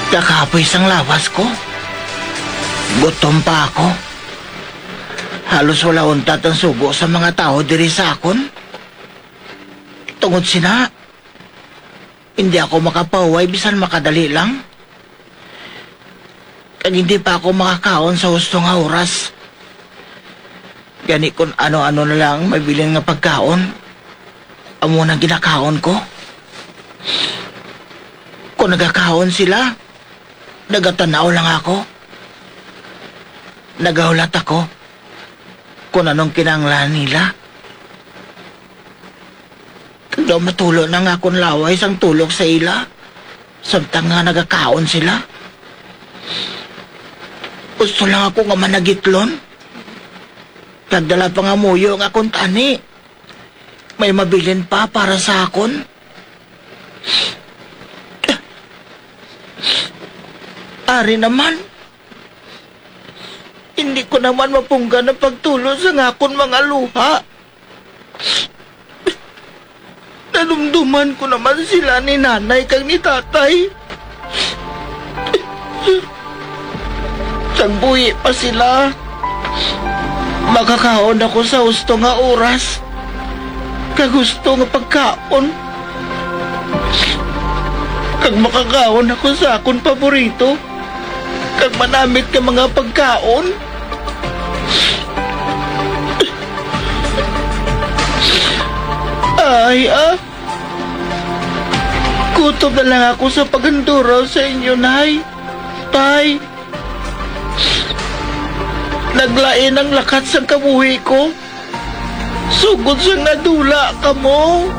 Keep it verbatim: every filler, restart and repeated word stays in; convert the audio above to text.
Kakapoy sang lawas ko. Gutom pa ako. Halos wala untat ang sugo sa mga tawo diri sa akon. Tungod sina, hindi ako makapahuway bisan makadali lang. Kag hindi pa ako makakaon sa husto nga oras. Gani, kung ano-ano na lang ang mabilin nga pagkaon, amo nang ginakaon ko. Kung nagakaon sila, nagatan-aw lang ako. Nagahulat ako kung anong kinahanglan nila. Kag daw matulo na nga akon laway sang tulok sa ila, samtang nga nagakaon sila. Gusto lang ako nga managitlon, kag dala pa nga muyo nga kuntani may mabilin pa para sa akon. Ari naman, hindi ko naman mapunggan ang pagtulo sang akon mga luha. Nadumduman ko naman sila ni nanay kag ni tatay. Sang buhi pa sila, makakaon ako sa husto nga oras kag husto nga pagkaon, kag makakaon ako sa akon paborito kag manamit nga mga pagkaon. Ay, ah. Kutob na lang ako sa paghanduraw sa inyo, Nay. Tay. Naglain ang lakat sang kabuhi ko. Sugod sang nadula kamo.